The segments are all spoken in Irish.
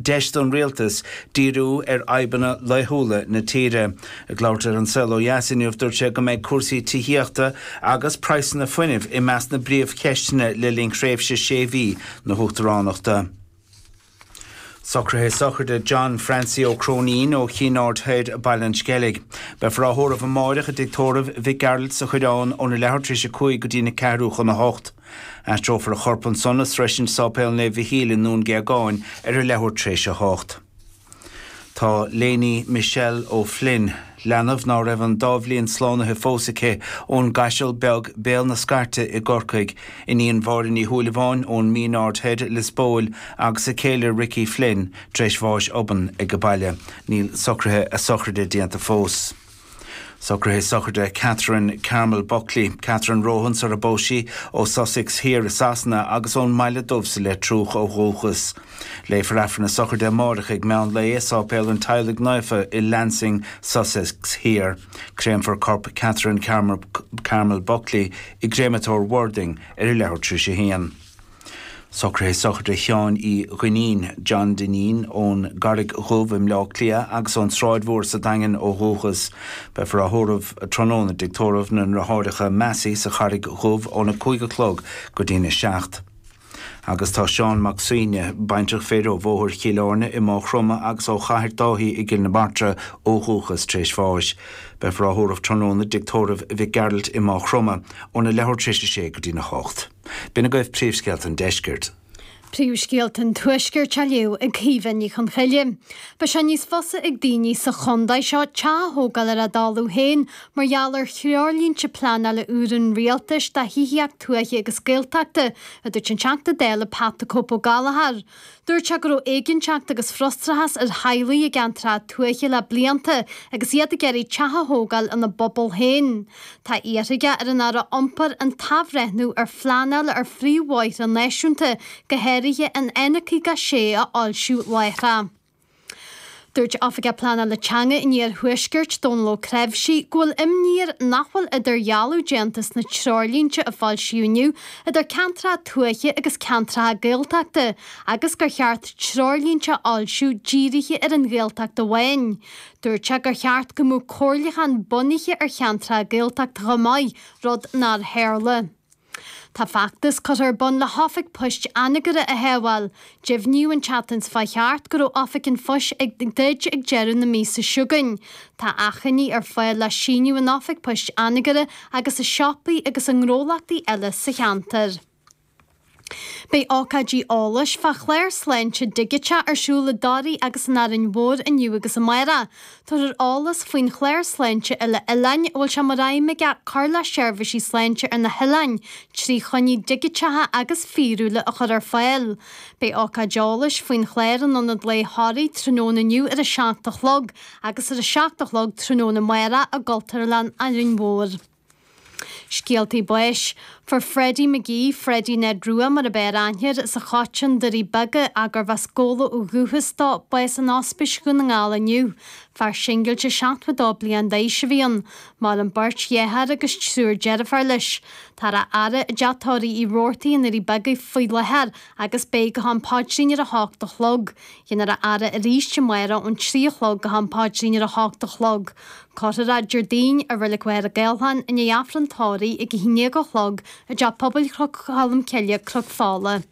Deis don rialtas díriú ar fhadhbanna laethúla na tíre. Ag labhairt ar An Saol Ó Dheas inniu, dúirt sé go mbeidh cúrsaí tithíochta agus praghsanna fuinnimh i measc na bpríomhcheisteanna le linn thréimhse sé mhí na huachtaránachta. Socruithe sochraide John Francie Ó Cróinín ó Chinn Aird Thoir, Baile an Sceilg. Beifear á thórramh amáireach i dtigh tórraimh Mhic Gearailt sa Choireán óna leathuair tar éis a 5 go dtína ceathrú chun a hocht. Aistreofar a chorp ansan a sroisint Sáipéal Naomh Mhichíl i nDún Géagáin ar a leathuair tar éis a hocht. Tá Lainey Michelle O'Flynn, leanbh ná raibh an dá bhliain slánaithe fós aici, ón gCaiseal Beag, Béal na Scairte i gCorcaigh, iníon Mháire Ní Shúilleabháin ón Mín Aird Thoir, Lios Póil, agus a céile Ricky Flynn, tar éis bháis obann ag a baile. Níl socruithe a sochraide déanta fós. Socruithe sochraide Catherine Carmel Buckley, Catherine Rohan sar a bpós sí, ó Sussex Thiar i Sasana agus ón mBaile Dubh sa Leitriúch ó dhúchas. Léifear Aifreann a sochraide amárach ag meán lae i Sáipéal an Teaghlaigh Naofa i Lancing, Sussex Thiar. Créamfar corp Catherine Carmel Buckley i gCréamatóir Worthing ar a leathuair tar éis a haon. Socruithe sochraide Sheáin Uí Dhuinnín, John Dineen, ón gCarraig Dhubh i mBleá Cliath agus ón tSráid Mhór sa Daingean ó dhúchas. Beifear á thórramh tráthnóna i dtigh tórraimh na nDriotháireacha Massey sa Charraig Dhubh óna 5 a chlog go dtína 7. Agus tá Seán Mac Suibhne, baintreach fir ó Bhóthar Chill Airne i Maigh Chromtha agus ó Chathair Dáithí i gCill na Martra ó dhúchas, tar éis bháis. Beifear á thórramh tráthnóna i dtigh tórraimh Mhic Gearailt i Maigh Chromtha óna leathuair tar éis a sé go dtína hocht. B'in agaibh príomhscéalta an deiscirt. Príomhscéalta an Tuaiscirt á léamh ag Caoimhe Ní Chonchoille. Beidh sé níos fusa ag daoine sa chontae seo teach a thógáil ar a dtalamh féin mar gheall ar threoirlínte pleanála úr an Rialtais do thithíocht tuaithe agus Gaeltachta, a dúirt an Teachta Dála Pat 'The Cope' Ó Gallchóir. Dúirt sé go raibh éiginnteacht agus frustrachas ar theaghlaigh i gceantracha tuaithe le blianta agus iad ag iarraidh teach a thógáil ina bpobal féin. Tá iarrtha aige ar an Aire Iompair an t-athbhreithniú ar phleanáil ar phríomhbhóithre náisiúnta, go háirithe an N56 a fhoilsiú láithreach. Dúirt Oifigeach Pleanála Teanga an Iarthuaiscirt, Dónal Ó Creabhsí, go bhfuil imní air nach bhfuil idirdhealú déanta sna treoirlínte a foilsíodh inniu idir ceantracha tuaithe agus ceantracha Gaeltachta agus gur cheart treoirlínte a fhoilsiú dírithe ar an Ghaeltacht amháin. Dúirt sé gur cheart go mbeadh comhairliúchán bunaithe ar cheantracha Gaeltachta chomh maith, rud nár tharla. Tá feachtas curtha ar bun le hOifig Poist Anagaire a shábháil. Deimhníodh an tseachtain seo chuaigh thart go raibh Oifig an Phoist ag druid ag deireadh na míosa seo chugainn. Tá achainí ar fáil le síniú in Oifig Poist Anagaire agus i siopaí agus i ngnólachtaí eile sa cheantar. Beidh ócáidí eolais fá chlár sláinte digiteach ar siúl i dToraigh agus in Árainn Mhór inniu agus amárach. Tabharfar eolas faoin chlár sláinte uile-oileáin a bhfuil sé mar aidhm aige cur le seirbhísí sláinte ar na hoileáin trí choinní digiteacha agus fíorúla a chur ar fáil. Beidh ócáid eolais faoin chlár in Ionad Lae Thoraí tráthnóna inniu ar a 7 a chlog agus ar a 7 a chlog tráthnóna amárach i gCultúrlann Árainn Mhór. Scéaltaí báis. Fuair Freddie McGee, Freddie Ned Rua mar ab fhearr aithne air, as an Choiteann, Doirí Beaga, ach gurbh as Gabhla ó dhúchas dó, bás in Ospís Dhún na nGall inniu. Fear singilte 72 bliain d'aois a bhí ann. Maireann beirt dheartháir agus triúr deirféar leis. Táthar á fhaire i dteach tórraimh Uí Robhartaigh i nDoirí Beaga faoi láthair agus beidh go ham paidrín ar a hocht a chlog. Déanfar a fhaire arís amárach ón 3 a chlog go ham paidrín ar a hocht a chlog. Cuirfear é Déardaoin i Reilig Mhachaire Gathlán i ndiaidh Aifreann tórraimh ag 11 a chlog i dTeach Pobail Chnoc Cholm Cille, Cnoc Fola.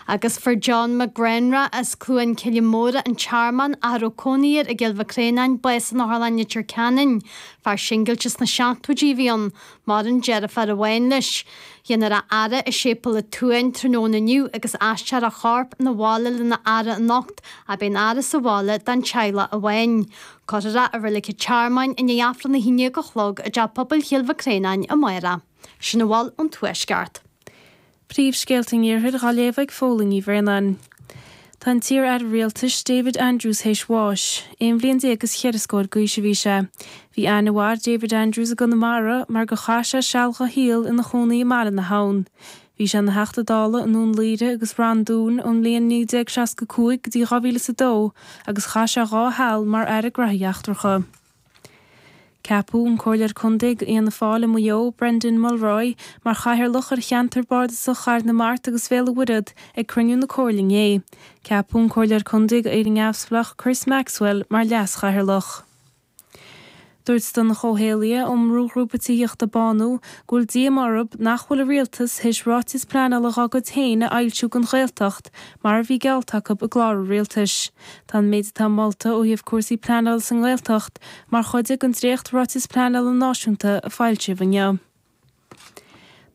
Agus fuair John McGrenra as Cluain Cille Móire, An Tearmann, ach a raibh cónaí air i gCill Mhic Réanáin, bás in Otharlann Leitir Ceanainn. Fear singilte sna seachtóidí a bhí ann. Maireann deirfiúr amháin leis. Déanfar a fhaire i Séipéal an tSuain tráthnóna inniu agus aistreofar a chorp 'na bhaile lena fhaire anocht ach beidh an fhaire sa bhaile don teaghlach amháin. Cuirfear é i Reilig an Tearmainn i ndiaidh Aifreann 11 a chlog i dTeach Pobail Chill Mhic Réanáin amárach. Sin a bhfuil ón Tuaisceart. Príomhscéalta an Iarthair dhá léamh ag Fódhla Ní Bhraonáin. Tá an t-iar-aire rialtais David Andrews théis bháis. Aon bhliain déag is cheithre scór d'aois a bhí sé. Bhí aithne mhaith ar David Andrews i gConamara mar gur chaith sé seal dha shaol ina chónaí i mBaile na hAbhann. Bhí sé ina Theachta Dála i nDún Laoghaire agus Rann Dúin ón mbliain 1965 go dtí 2002 agus chaith sé dhá sheal mar Aire Graithí Eachtracha. Ceapadh an Comhairleoir Contae d'Fhianna Fáil i Maigh Eo, Brendan Mulroy, mar chathaoirleach ar cheantar bardasach Chathair na Mart agus Bhéal an Mhuirthead ag cruinniú na Comhairle inné. Ceapadh an Comhairleoir Contae d'Éire Neamhspleách, Chris Maxwell, mar leas-chathaoirleach. Dúirt Donncha Ó hÉallaithe ón mbrúghrúpa tithíochta Bánú go bhfuil díomá orthu nach bhfuil an Rialtas théis ráiteas pleanála dhá gcuid féin a fhoilsiú don Ghaeltacht mar a bhí geallta acu i gclár an Rialtais. Tá an méid atá molta ó thaobh cúrsaí pleanála sa nGaeltacht mar chuid den dréacht-Ráiteas Pleanála Náisiúnta a foilsíodh inniu.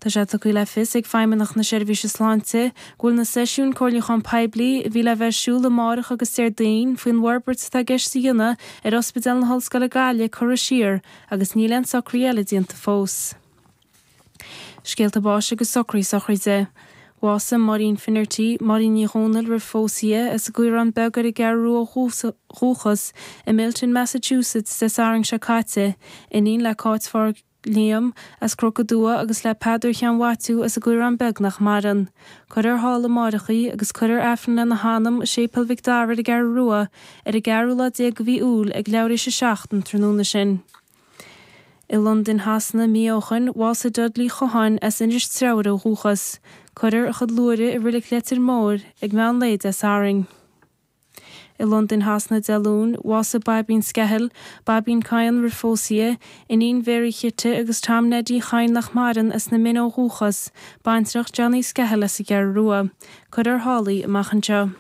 Tá sé tugtha le fios ag Feidhmeannacht na Seirbhíse Sláinte go bhfuil na seisiúin comhairliúcháin poiblí a bhí le bheith ar siúl amárach agus Déardaoin faoin bhforbairt atá i gceist a dhéanamh ar Ospidéal na hOllscoile Gaillimh curtha siar agus níl aon socruithe eile déanta fós. Scéalta báis agus socruithe sochraide. Bhásaigh Máirín Finnerty, Máirín Ní Dhomhnaill roimh phósadh di, as an gCaorán Beag ar an gCeathrú Rua ó dhúchas, i Milton, Massachusetts, Dé Sathairn seo caite, iníon le Cáit Phádraig Liam, as Cnoc an Dua agus le Peadar Sheáin Mhaitiú as an gCaorán Beag nach maireann. Cuirfear thall amáireach í agus cuirfear Aifreann lena hanam i Séipéal Mhic Dara ar an gCeathrú Rua ar an gceathrú lá déag de mhí Iúil ag leathuair théis 7 an tráthnóna sin. I Londain Shasana mí ó shoin, bhásaigh Dudley Chotháin as Inis Treabhair ó dhúchas. Cuirfear a chuid luaithre i Reilig Leitir Móir ag meán lae Dé Sathairn. I Londain Shasana Dé Luain, bhásaigh Baibín Skehill, Baibín Kyne roimh phósadh di, iníon Mhary Chite agus Tom Neidí Chadhain nach maireann, as na Mine ó dhúchas, baintreach Johnny Skehill as an gCeathrú Rua. Cuirfear thall í amach anseo.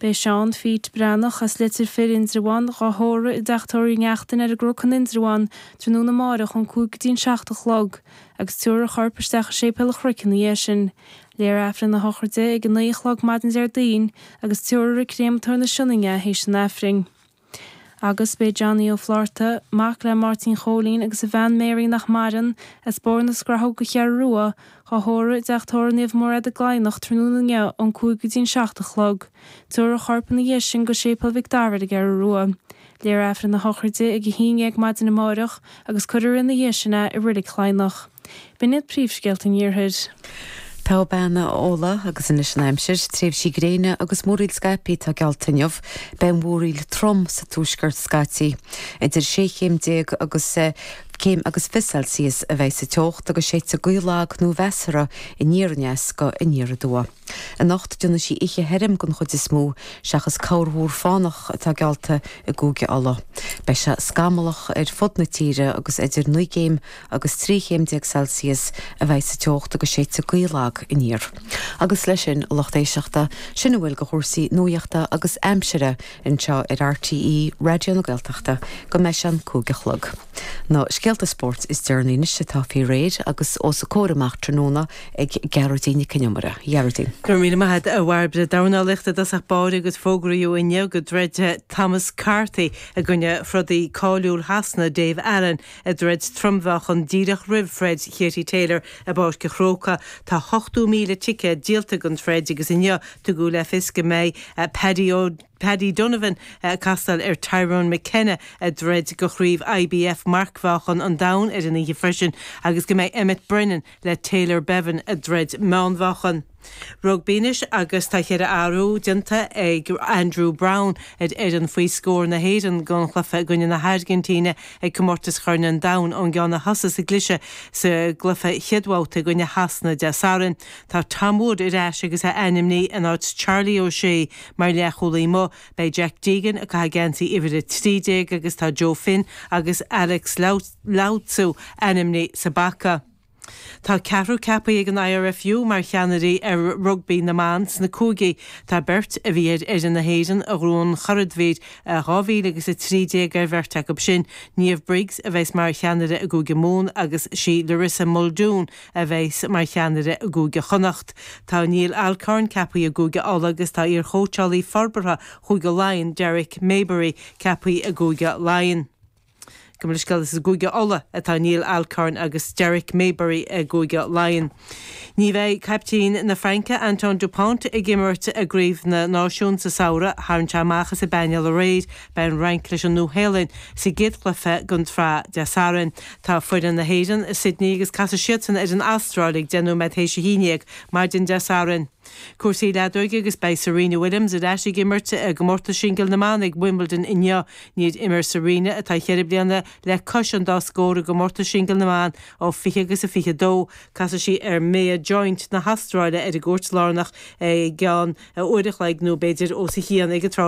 Beidh Seán Phete Breathnach as Leitir Fir, Indreabhán, dhá thórramh i dteach tórraimh Uí Neachtain ar an gCnoc in Indreabhán tráthnóna amáireach ón 5 go dtí an 7 a chlog agus tabharfar a chorp isteach i Séipéal an Chnoic ina dhiaidh sin. Léifear Aifreann a shochraide ag 9 a chlog maidin Déardaoin agus tabharfar ag Créamatóir na Sionainne é théis an Aifrinn. Agus b'é Johnny Ó Flátharta, mac le Máirtín Chóilín agus a bhean Mary nach maireann, as Bóthar na Scrathóg an Cheathrú Rua, dhá thórramh i dteach tórraimh Naomh Mairéad i gCladhnach tráthnóna inniu ón 5 go dtí an 7 a chlog. Tabharfar a chorp ina dhiaidh sin go Séipéal Mhic Dara ar an gCeathrú Rua. Léifear Aifreann a shochraide ag 11 maidin amáireach agus cuirfear ina dhiaidh sin é i Reilig Chladhnach. B'in iad príomhscéalta an Iarthair. Togha bean a Fhódhla agus anois an aimsir, tréimhsí gréine agus múraíl scaipthe atá geallta inniu. Beidh an mhúraíl trom sa tuaisceart scaití. Idir 16 chéim agus céim agus 20 Celsius a bheidh sa teocht agus séidfidh gaoth lag nó mheasartha aniar aneas go aniar aduaidh. Anocht déanfaidh sí oíche thirim den chuid is mó, seachas corrmhúr fánach atá geallta i gCúige Uladh. Beidh sé scamallach ar fud na tíre agus idir 9 gcéim agus 13 chéim Celsius a bheidh sa teocht agus séidfidh gaoth lag aniar. Agus leis sin, a lucht éisteachta, sin a bhfuil de chúrsaí nuaíochta agus aimsire anseo ar RTÉ Raidió na Gaeltachta go mbeidh sé an 5 a chlog. Na scéalta spóirt is deireanaí anois atá faoi réir agus os a comhair amach tráthnóna ag Gearóidín Nic Con Iomaire. A Ghearóidín. Go raibh míle maith agat, a Bhairbre. Dornálaíocht i dtosach báire agus fógraíodh inniu go dtroidfidh Thomas Carthy i gcoinne throdaí cáiliúil Shasana, Dave Allen, i dtroid trom-mheáchan díreach roimh throid Katie Taylor i bPáirc an Chrócaigh. Tá 80,000 ticéad díolta don troid agus inniu tugadh le fios go mbeidh Paddy Paddy Donovan ag castáil ar Tyrone McKenna i dtroid do chraobh IBF marcmheáchan an domhain ar an oíche freisin agus go mbeidh Emmet Brennan le Taylor Bevan i dtroid meánmheáchan. Rugbaí anois agus tá cheithre athrú déanta ag Andrew Browne ar fhoireann faoi scór na hÉireann don chluiche i gcoinne na hAirgintíne ag Comórtas Chorn an Domhain ón gceann a thosaigh sa gcliseadh sa gcluiche chéad bhabhta i gcoinne Shasana Dé Sathairn. Tá Tom Wood ar ais agus é ainmnithe in áit Charlie O'Shea mar leathchúlaí amuigh. Beidh Jack Deegan ag caitheamh geansaí uimhir 13 agus tá Joe Finn agus Alex Lauzu ainmnithe sa bpaca. Tá ceathrar ceaptha ag an IRFU mar cheannairí ar rugbaí na mban sna cúigí. Tá beirt a bhí ar fhoireann na hÉireann a ghnóthaigh an churadhmhír i 2013 ar bheirt acu sin. Niamh Briggs a bheas mar cheannaire i gCúige Mumhan agus sí Larissa Muldoon a bheas mar cheannaire i gCúige Chonnacht. Tá Neil Alcorn ceaptha i gCúige Uladh agus tá iarchóitseálaí forbartha Chúige Laighean, Derek Mayberry, ceaptha i gCúige Laighean. Gabh mo leithscéal, is i gCúige Uladh atá Neil Alcorn agus Derek Mayberry i gCúige Laighean. Ní bheidh caiptín na Fraince, Antoine Dupont, ag imirt i gCraobh na Náisiún sa samhradh. Tharraing sé amach as an bpainéal aréir. Beidh an Fhrainc leis an Nua-Shéalainn sa gcéad chluiche den tsraith Dé Sathairn. Tá foireann na hÉireann i Sydney agus casfaidh siadsan ar an Astráil ag 11 nóiméad théis a 11 maidin Dé Sathairn. Cúrsaí leadóige agus beidh Serena Williams ar ais ag imirt i gcomórtas singil na mban ag Wimbledon inniu. Níor imir Serena, atá cheithre bliana le cois an dá scór i gcomórtas singil na mban ó 20 agus a 22. Casfaidh sí ar Mia Joint na hAstráile ar an gcúirt lárnach i gceann uair a chloig nó b'fhéidir os a chionn ag an tráth.